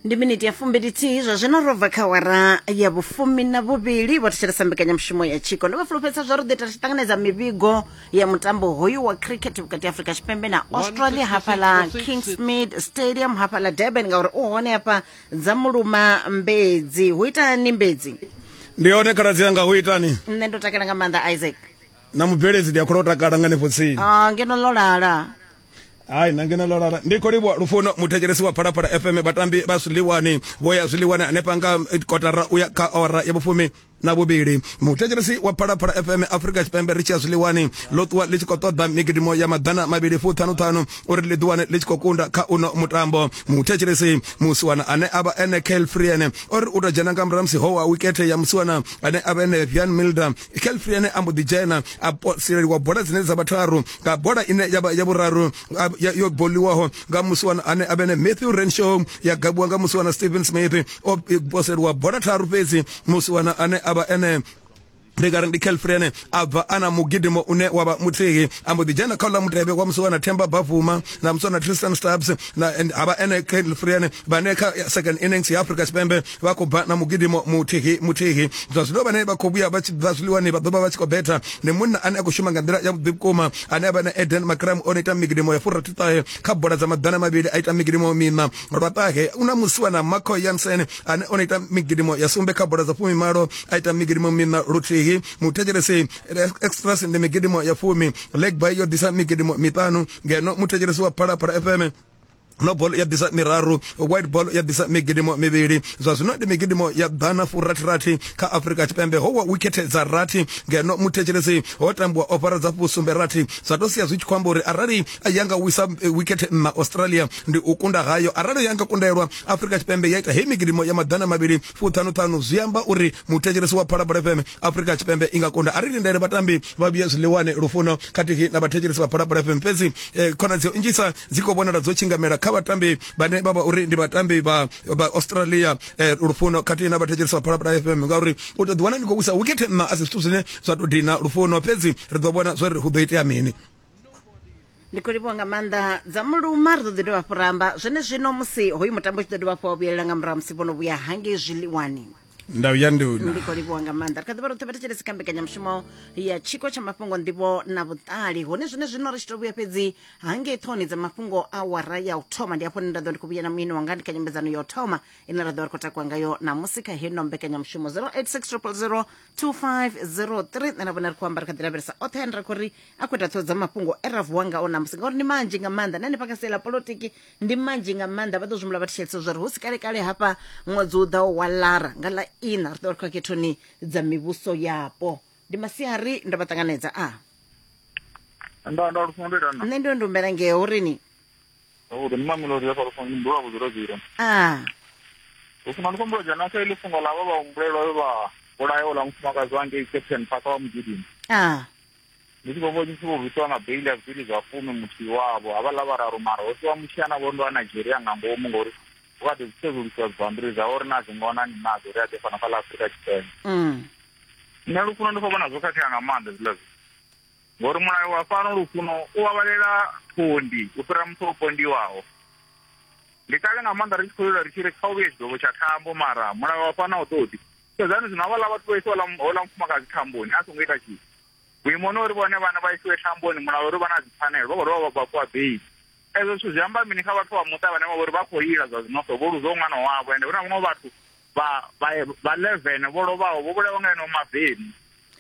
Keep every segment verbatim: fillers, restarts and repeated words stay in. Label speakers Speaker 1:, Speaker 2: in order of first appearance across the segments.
Speaker 1: Ndi miniti ya fumbili-thihi zwa zwino ro bva kha awara ya vhufumi na vhuvhili. Vho thetshelesa mbekanyamushumo ya Tshiko. Ndo vha fulufhedzisa zwa uri ḓo ita ri tshi ṱanganedza mivhigo ya mutambo hoyu wa cricket vhukati ha Afrika Tshipembe na Australia hafhaḽa Kingsmead Stadium hafhaḽa Durban, ngauri u hone hafha dza muluma Mbedzi. Hu itani Mbedzi?
Speaker 2: Ndi hone khaladzi yanga, hu itani?
Speaker 1: Nṋe ndo takala nga maanḓa, Isaac.
Speaker 2: Na mubveledzi ndi a khou takala nga hanefho tsini.
Speaker 1: Ah, ngeno ḽo lala.
Speaker 2: Hai, na ngeno ḽo lala. Ndi khou livhuwa Lufuno, muthetshelesi wa Phalaphala F M. Vhatambi vha zwiḽiwani vho ya zwiḽiwani hanefha nga kotara uya kha awara ya vhufumi na vhuvhili. Muthetshelesi wa Phalaphala F M, Afrika Tshipembe ri tshi ya zwiḽiwani ḽo ṱuwa ḽi tshi khou ṱoḓa migidimo ya maḓana mavhili fuṱhanuṱhanu uri ḽi ḓiwane ḽi tshi khou kunda kha uno mutambo. Muthetshelesi, musiwana ane a vha ene Kyle Frien ori u tou dzhena nga murahu musi ho wa wikethe ya musiwana ane a vha ene Wiaan Mulder, Kyle Frien a mbo ḓi dzhena a sileliwa bola dzine dza vha tharu nga bola ine ya vha ya vhuraru yo boliwaho nga musiwana ane a vha ene Matthew Renshaw, ya gabiwa nga musiwana Steven Smith. O poseliwa bola tharu fhedzi musiwana ane a vha ene, ndi nga ri ndi Kyle Frien, a bva ana mugidimo une wa vha muthihi, a mbo ḓi dzhena kha uḽa mutevhe wa musiwana Themba Bavuma na musiwana Tristan Stubbs na havha ene Kyle Frien, vhane kha second innings ya Afrika Tshipembe vha khou bva na mugidimo muthihi muthihi. Zwa zwino vhane vha khou vhuya vha tshi bva zwiḽiwani vha ḓo vha vha tshi khou betha ndi munna ane a khou shuma nga nḓila ya vhuḓi vhukuma ane a vha na Aiden Markram, o no ita migidimo ya furathi ṱahe kha bola dza maḓana mavhili, a ita migidimo miṋa lwa ṱahe. Una musiwana Marco Jansen ane o no ita migidimo ya sumbe kha bola dza fumimalo, a ita migidimo miṋa luthihi. Muthetshelesi, extras ndi migidimo ya fumi, leg bye yo ḓisa migidimo miṱanu, ngeno muthetshelesi wa Phalaphala F M no ball ya ḓisa miraru, white ball ya ḓisa migidimo mivhili. Zwa zwino ndi migidimo ya ḓana furathirathi kha Afrika Tshipembe, ho wa wikhethe dza rathi, ngeno muthetshelesi ho tambiwa ofara dza fusumbe rathi. Zwa to sia zwi tshi khou amba uri arali ya nga wisa wikhethe nṋa Australia ndi u kunda hayo. Arali ya nga kundelwa Afrika Tshipembe ya ita hei migidimo ya maḓana mavhili fuṱhanuṱhanu, zwi amba uri muthetshelesi wa Phalaphala F M Afrika Tshipembe i nga kunda. Ari lindele vhatambi vha vhuye zwiḽiwani, Lufuno khathihi na vhathetshelesi vha Phalaphala F M. Fhedzi eh, khonadzeo nnzhisa dzi khou vhonala dzo tshingamela kha vhatambi vhane vha vha uri ndi vhatambi vha vha Australia, eh, Lufuno khathihi na vhathetshelesi vha Phalaphala F M, ngauri u tou ḓiwana ndi khou wisa wikhethe nṋa a si zwithu zwine zwa tou dina, Lufuno. Fhedzi ri ḓo vhona zwori hu ḓo itea mini.
Speaker 1: Ndi khou livhuwa nga maanḓa dza muluma. Ri ḓo ḓi dovha hafhu ra amba zwene zwino musi hoyu mutambo u tshi ḓo dovha hafhu wa vhuyelela nga murahu musi vho no vhuya hangei zwiḽiwani.
Speaker 2: Ndau ya nduna.
Speaker 1: Ndi khou livhuwa nga maanḓa. Ri kha ḓi vha roṱhe vhathetshelesi kha mbekanyamushumo ya Tshiko tsha mafhungo, nḓivho na vhuṱali, hone zwine zwino ri tshi to vhuya fhedzi hangei ṱhoni dza mafhungo awara ya u thoma, ndi hafho hune nda ḓo ndi khou vhuya na muyeni wanga ndi kha nyambedzano ya u thoma ine ra ḓo vha ri khou takuwa ngayo namusi kha heno mbekanyamushumo. zero eight six zero zero two five zero three. Nṋe na vhone ri khou amba, ri kha ḓi lavhelesa oṱhe ane ra khou ri a khou ita ṱhoho dza mafhungo e ra vuwa ngao namusi, ngauri ndi manzhi nga maanḓa. Na hanefha kha sia ḽa polotiki ndi manzhi nga maanḓa. Vha ḓo zwimbula vha thetshelesa zwa uri hu si kale kale hafha ṅwedzi u ḓaho wa Lara nga ḽa ina ri ḓo ri khou khethoni dza mivhuso yapo. Ndi masiari, ndo vha ṱanganedza a
Speaker 3: Nda nda Lufuno, ndo ita na.
Speaker 1: Nṋe ndo ndumbela ngeo urini.
Speaker 3: Zwavhuḓi, ndi Mamelodi hafha, Lufuno, ndi mdula vhudzulo zero.
Speaker 1: A
Speaker 3: Lufuno, ndi khou humbula dzhena kha iḽi fhungo ḽa vha vha humbulelwa vhe vha vhulaya uḽa mufumakadzi wa ngei Captain Park wa mugidimi.
Speaker 1: A
Speaker 3: Ndi tshi khou vhona tshi vho bvisiwa nga beili ya zwigidi zwa fumi muthihi wavho, havhaḽa vhararu mara ho siwa muthihi ana vho ndo wa Nigeria nga ngomu ngori hu kha ḓi sedzulusiwa dzibammbiri dzawe uri na dzi ngona ni nadzo uri a ḓe fhano kha ḽa Afrika Tshipembe.
Speaker 1: mm.
Speaker 3: Nṋe Lufuno ndi khou vhona zwo khakhea nga maanḓa hezwiḽa zwithu, ngori mulayo wa fhano, Lufuno, u vhavhalela phondi u fhira muthu o pondiwaho. Ndi kale nga maanḓa ri tshi khou lila ri tshi ri kha u vhuye tshigwevho tsha thambo, mara mulayo wa fhano a u ṱoḓi. Sedzani zwino havhaḽa vhathu vho isiwa houḽa mufumakadzi thamboni a songo ita tshithu, vhuimoni uri vhone vhana vha isiwe thamboni, mulayo uri vha na dzipfanelo vha khou dovha vha fhiwa beili. Ezwo zwithu zwi amba mini kha vhathu vha muṱa vhane vha vhori vha khou lila zwa zwino so vho luzaho ṅwana wavho? Ende hu na vhaṅwe vhathu vha vha vha eleven vho lovhaho, vho vhulawa nga eneo mavemu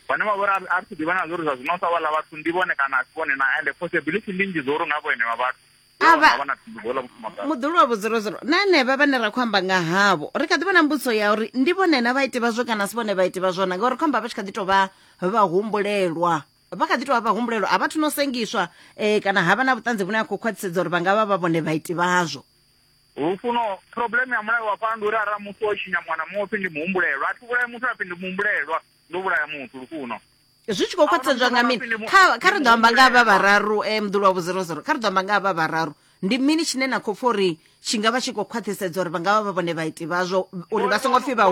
Speaker 3: vhane vha vhori a ri thi ḓivha na zwa uri zwa zwino sa vhaḽa vhathu ndi vhone kana a si vhone na. Ende possibility ndi nnzhi dzo uri nga vhone vha vhathu
Speaker 1: Avha-
Speaker 3: vha na thumbu dzo ḽa mufumakadzi.
Speaker 1: Muḓulu wa vhudzulozolo na henevha vhane ra khou amba nga havho, ri kha ḓi vha na mbudziso ya uri ndi vhone na vhaiti vhazwo kana si vhone vhaiti vhazwo na, ngauri khou amba vha tshi kha ḓi tou vha vhahumbulelwa, vha kha ḓi tou vha vhahumbulelwa, a vhathu no sengiswa eh, kana havha na vhuṱanzi vhune ha khou khwaṱhisedza uri vha nga vha vha vhone vhaiti vhazwo.
Speaker 3: Lufuno, problem ya mulayo wa fhano ndi uri arali muthu o tshinya muṅwe na muṅwe upfi ndi muhumbulelwa. A thi vhulaya muthu apfi ndi muhumbulelwa, ndo vhulaya muthu, Lufuno.
Speaker 1: Zwi tshi khou khwaṱhisedzwa nga mini? Kha kha ri ḓo amba nga havha vhararu, eh, muḓulu wa vhuzerozero, kha ri ḓo amba nga havha vhararu, ndi mini tshine na khou pfa uri tshi nga vha tshi khou khwaṱhisedza uri vha nga vha vha vhone vhaiti vhazwo, uri vha songo pfi vha